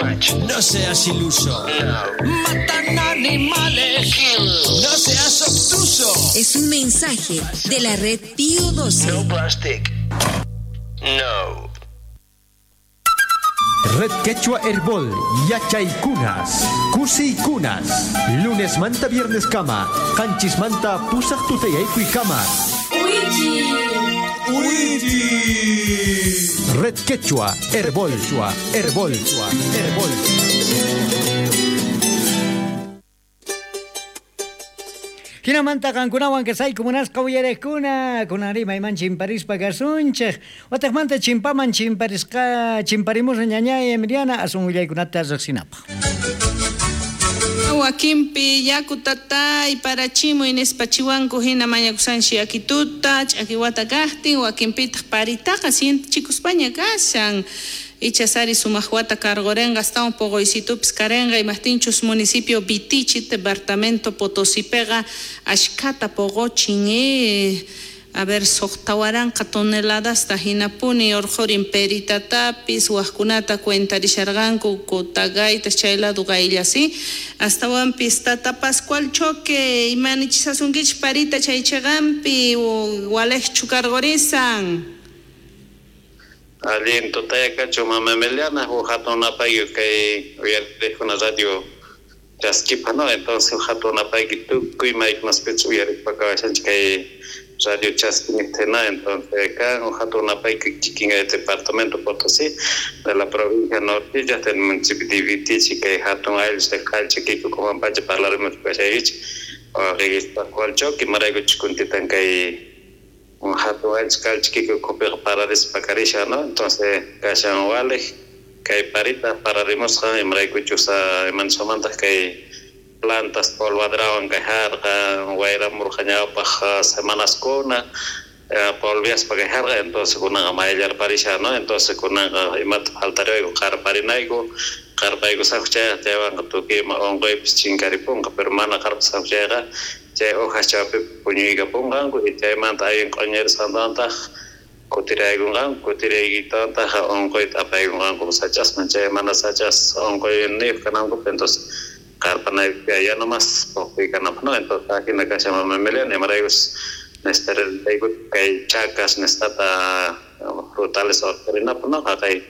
Much. No seas iluso. No. Matan animales. Kill. No seas obtuso. Es un mensaje de la red Pío 12. No plastic. No. Red Quechua Herbol, Yachaykunas, Kusiykunas, Lunes manta viernes kama, Qanchis manta pusaq tutayaykuy kama. Red Quechua Herbol, Herbol, Herbol. Hinamanta qankunawan kasayku munasqa uyariqkuna kunanri mayman chimparispa kasunchik wataqmanta chimpaman chimparisqa chimparimusqa ñañay Emiliana asun willaykunata riqsinapaq. Wakinpi yaku tatay parachimuy nispa chiwanku hina mañakusanchi yakituta ch'akiwata kaqtin wakinpitaq paritaqa sientichikuspaña kashan ichasari sumaq wata karqurinqa astawan poqoysitupis karinqa imaqtinchus municipio Vitichi departamento Potosipeqa ashkhata poqochin a ver suqta waranqa toneladasta hinapuni urqurin peritatapis waqkunata cuentarisharqanku Cotagayta chay lado qayllasi astawanpis tata Pascual Choque imanichisasunkichik parita chay chiqanpi waliqchu karqurisan. Allin tutayakachu mama Emiliana huk hatun napayki kay uyariqkuna radio chaskipa, no? Entonces huk hatun napayki tukuy maykunaspichus uyariqpa kawashanchik kay radio chaskiniqtina. Entonces kan huk hatun napayki kikin kay departamento Potosí de la provincia Nortilla del municipio de Vitichi kay hatun ayllus de Calchaquí Comampacha parlarimus kashaykichik Pascual Choque imaraykuchus kuntitan kay un hatun ayllus Calchaquí ukhupiqa pararispa karishan, no? Entonces kashan waliq kay parita pararimusqa imaraykuchus imanisqamantaq kay plantas polvadrawan kay harqa wayramurqa ñawpaq semanaskuna polviaspa kay harqa entonces kunanqa mayllarparishan, no? Entonces kunanqa imata faltariwayku qarparinayku qarpaykusaqku chayqa chaywanqa tukuy ima unquypis chinkaripunqa pero mana qarpasaqku chayqa chay hojas chawpipi puñuykapunqanku y chaymanta allin q'uñirisqantantaq kutiraykunqanku kutiraykitantaq unquyta apaykunqanku sach'asman chay mana sach'as unquyniyuq kanankupaq entonces qarpanayku ya nomás puquy kananpaq, no? Entonces ajina kashan mama Emiliana imaraykus necesitarayku kay chacas nisqata frutales urqurinapaq, no? Haqay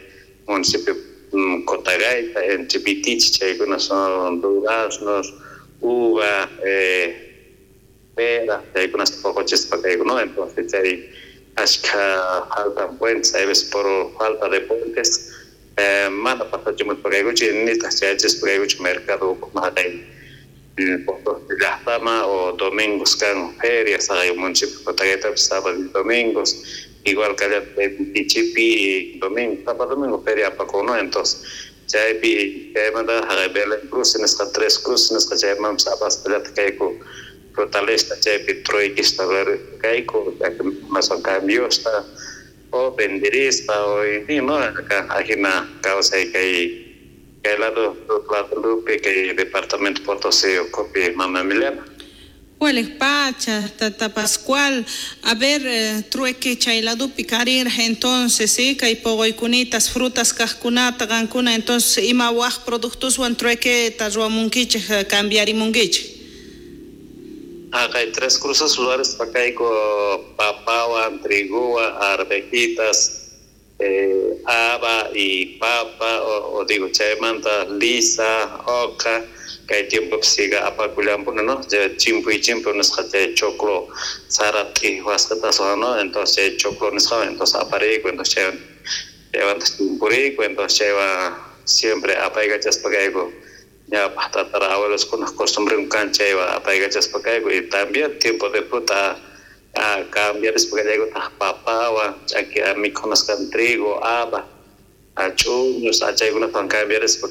municipio Cotagayta entre Vitichi chaykuna son duraznos, uva, pera, chaykunasta poqochispa kayku, no? Entonces chay ashkha faltan puentes, hay veces por falta de puentes mana pasachimuspa kaykuchu nitaq chayachispa kaykuchu mercado ukhuman haqay Potosí llaqtama o domingos kan ferias haqay municipio Cotagaytapis sábado y domingos igual kallataq Vitichipi domingo sábado domingo feria apakun, no? Entonces chaypi chaymanta haqay Belén Cruz nisqa Tres Cruces nisqa chaymanpis apaspa kayku frutalista chaypi truequista kayku son cambiosta o venderispa o no? Acá ajina kawsay kay kay lado Lupe kay departamento Potosí ukhupi mama Emiliana. Waliq pacha, tata Pascual, a ver, trueque chay ladupi karirqa entonces, sí, kay poqoykunitas, frutas kaqkunata qankuna, entonces ima waq productoswan truequeta ruwamunkichik, cambiarimunkichik. Haqay Tres Cruces ruwarispa kayku papawan, triguwan, arvejitas, haba y papa, o digo chaymanta lisa, oca, kay tiempopi siga apakullanpuni, no? Chimpuy chimpu nisqa chay choclo sara t'iwasqataswan, no? Entonces chay choclo nisqawan entonces apariyku, entonces chaywantaq chimpuriyku, entonces chaywan siempre apaykachaspa kayku ñawpaq tatara abueloskunaq costumbrenku kan chaywan apaykachaspa kayku y también tiempo de fruta cambiarispa kallaykutaq papawan ch'aki mikhunasqan trigo, haba, ch'uñus chaykunatawan cambiarispa